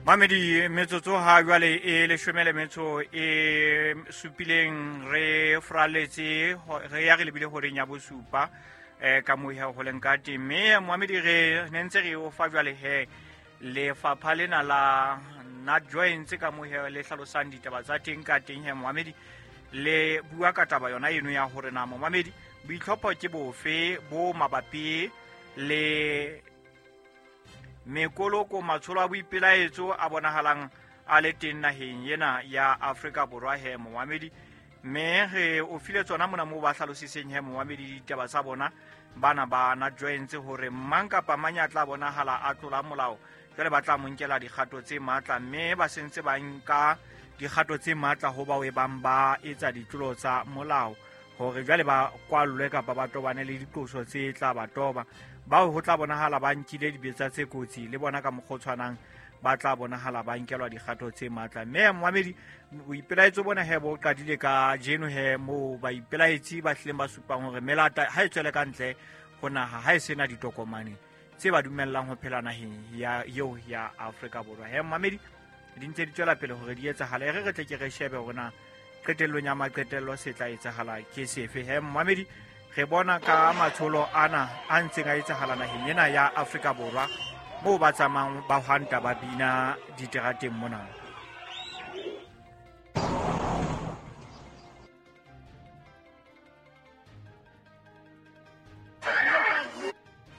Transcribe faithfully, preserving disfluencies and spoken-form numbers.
Mamedi metsotso ha jwale e leshome le metso e supileng re fraletse re ya re lebile horeng ya bosupa eh ka moha ho leng ka teng mme Mohamedi re ne ntse re o fa jwale he lefapha lena la NatJoints ka moha le hlalosang ditaba tsa teng ka teng he Mohamedi le bua ka taba yona eno ya hore na Mohamedi boitlhopho ke bofe bo mabapi le mekoloko matsholo a boipelaetso a bonahalang a le teng naheng ena ya Afrika Borwa he Mohamedi mme re o file tsona mona moo ba hlalositseng he Mohamedi ditaba tsa bona bana ba NatJoints hore mang kapa mang ya tla bonahala a tlola molao jwale ba tla mo nkela dikgato tse matla mme ba sentse ba nka dikgato tse matla ho bao e bang ba etsa ditlolo tsa molao hore jwale ba kwallwe kapa ba tobane le diqoso tse tla ba toba bao ho tla bonahala ba nkile dibetsa tse kotsi le bona ka mokgwa o tshwanang ba tla bonahala ba nkelwa dikgato tse matla mme Mohamedi boipelaetso bona he bo qadile ka jeno he moo baipelaetsi ba hlileng ba supang hore melata ha e tswele ka ntle ho naha ha e sena ditokomane tse ba dumellang ho phela naheng ya eo ya Afrika Borwa he Mohamedi di ntse di tswela pele hore di etsahale re re tle ke re shebe hore na qetellong ya maqetello se tla etsahala ke sefe he Mohamedi re bona ka matsholo ana a ntseng a etsahala naheng ena ya Afrika Borwa moo ba tsamayang ba hwanta ba bina diterateng mona.